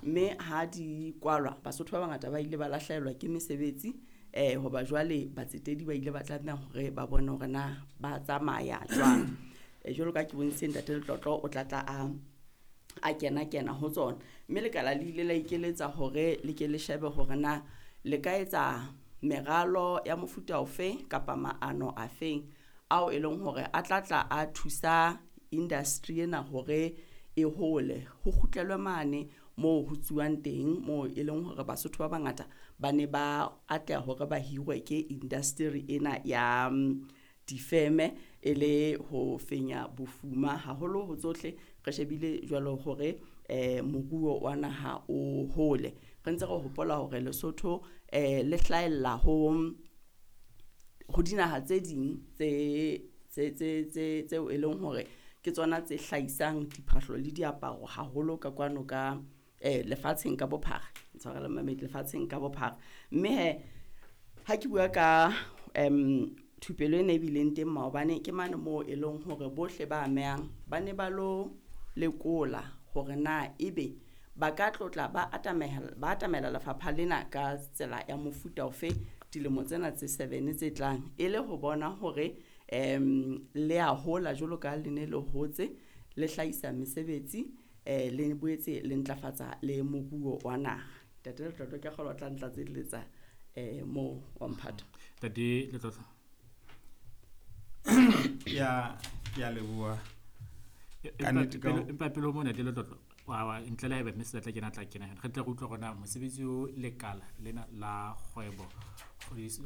Mme ha di kwalwa, Basotho ba bangata ba ile ba lahlehelwa ke mesebetsi hoba jwale batsetedi ba ile ba tlameha hore ba bone hore na ba tsamaya jwang. Jwalo ka ke bontshitse Ntate Letlotlo o tla tla a kena kena ho tsona. Mme lekala le ile la ikeletsa hore le ke le shebe hore na le ka etsa meralo ya mofuta ofe kapa maano afeng ao e leng hore a tla tla a thusa industry ena hore e hole. Ho kgutlelwe mane moo ho tsuwang teng moo e leng hore Basotho ba bangata ba ne ba atleha hore ba hirwe ke industry ena ya difeme e le ho fenya bofuma haholo ho tsohle re shebile jwalo hore moruo wa naha o hole. Re ntse re hopola hore Lesotho le hlahella ho dinaha tse ding tse tse tse tse tseo e leng hore ke tsona tse hlahisang diphahlo le diaparo haholo ka kwano ka lefatsheng ka bophara. Ntshwarele momamedi lefatsheng ka bophara. Mme he ha ke bua ka thupelo ena e bileng teng maobane ke mane moo e leng hore bohle ba amehang ba ne ba lo lekola hore na ebe ba ka tlotla ba atamela lefapha lena ka tsela ya mofuta ofe dilemo tsena tse 7 tse tlang e le ho bona hore le a hola jwalo ka le ne le hotse le hlahisa mesebetsi le boetse le ntlafatsa le moruo wa naha. Ntate Letlotlo ke a kgolwa o tla ntlatselletsa moo wa mphato. Ntate Letlotlo. Ya ke a leboha. Ka nnete ka ho- Empa pele ho mona Ntate Letlotlo, wa ntle le haeba mme Selatla kena tla kena re tle re utlwe hore na mosebetsi o lekala lena la kgwebo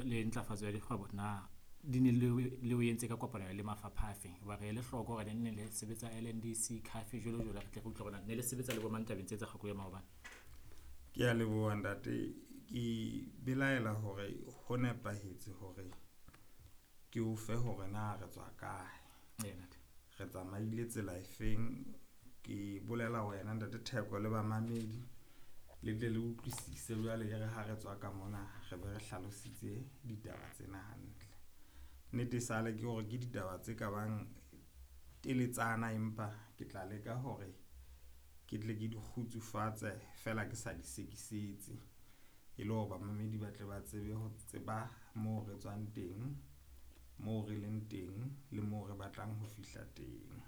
le ntlafatso ya dikgwebo na di ne le o entse ka kopano le mafapha a feng? Hoba re ele hloko hore ne le sebetsa LNDC, CAF jwalo jwalo, re tle re utlwe hore na ne le sebetsa le bo mang tabeng tse tsa kgwebo ya maobane. Ke a leboha ntate. Ke belaela hore ho nepahetse hore ke o fe hore na re tswa kae. Ee, ntate. Re tsamaile tsela efeng. Ke bolela wena ntate Theko le bamamedi le tle le utlwisise jwale e re ha re tswa ka mona re be re hlalositse ditaba tsena hantle. Nnete sale ke hore ke ditaba tse ka bang teletsana, empa ke tla leka hore ke tle ke di kgutsufatse fela ke sa di sekisetse e le hore bamamedi ba tle ba tsebe ho tseba moo re tswang teng, moo re leng teng le moo re batlang ho fihla teng.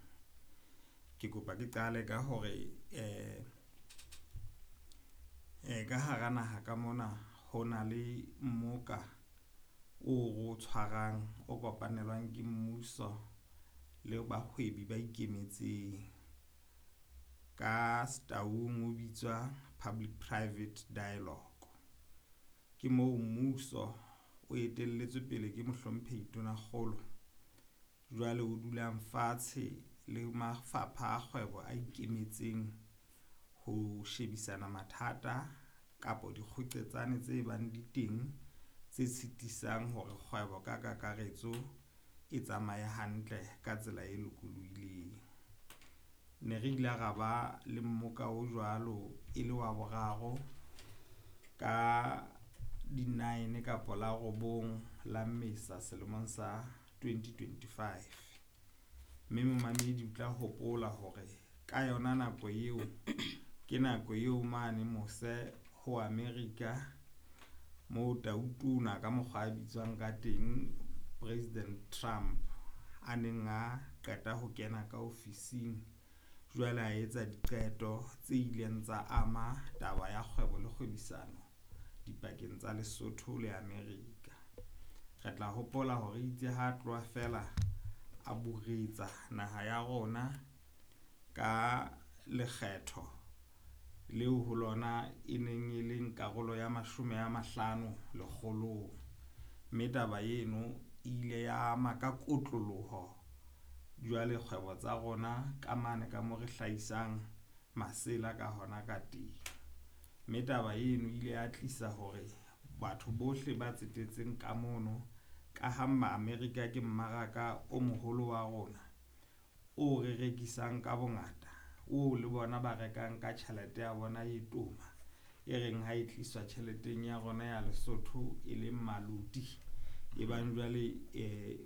Ke kopa ke qale ka hore ka hara naha ka mona ho na le mmoka o re o tshwarang o kopanelwang ke mmuso le bahwebi ba ikemetseng. Ka Setaung o bitswa Public Private Dialogue. Ke moo mmuso o etelletswe pele ke mohlomphehi Tonakgolo jwale o dulang fatshe le mafapha a kgwebo a ikemetseng ho shebisana mathata kapo dikgoqetsane tse bang di teng tse sitisang hore kgwebo ka kakaretso e tsamaye hantle ka tsela e lokolohileng. Ne re ile ra ba le mmoka o jwalo e le wa boraro ka di-9 kapa la robong la Mmesa selemong sa 2025. Mme momamedi o tla hopola hore ka yona nako eo ke nako eo mane mose ho America moo tautona ka mokgwa a bitswang ka teng President Trump a neng a qeta ho kena ka ofising jwale a etsa diqeto tse ileng tsa ama taba ya kgwebo le kgwebisano dipakeng tsa Lesotho le America. Re tla hopola hore itse ha tloha fela a buretsa naha ya rona ka lekgetho leo ho lona e neng e leng karolo ya 50 lekgolong. Mme taba eno e ile ya ama ka kotloloho jwale kgwebo tsa rona ka mane ka mo re hlahisang masela ka hona ka teng. Mme taba eno ile ya tlisa hore batho bohle ba tsetetseng ka mono ka ha ma-America ke mmaraka o moholo wa rona o re rekisang ka bongata, o le bona ba rekang ka tjhelete ya bona e toma e reng ha e tliswa tjheleteng ya rona ya Lesotho e leng maloti e bang jwale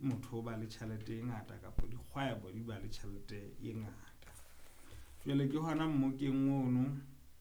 motho o ba le tjhelete e ngata kapa dikgwebo di ba le tjhelete e ngata. Jwale ke hona mmokeng ono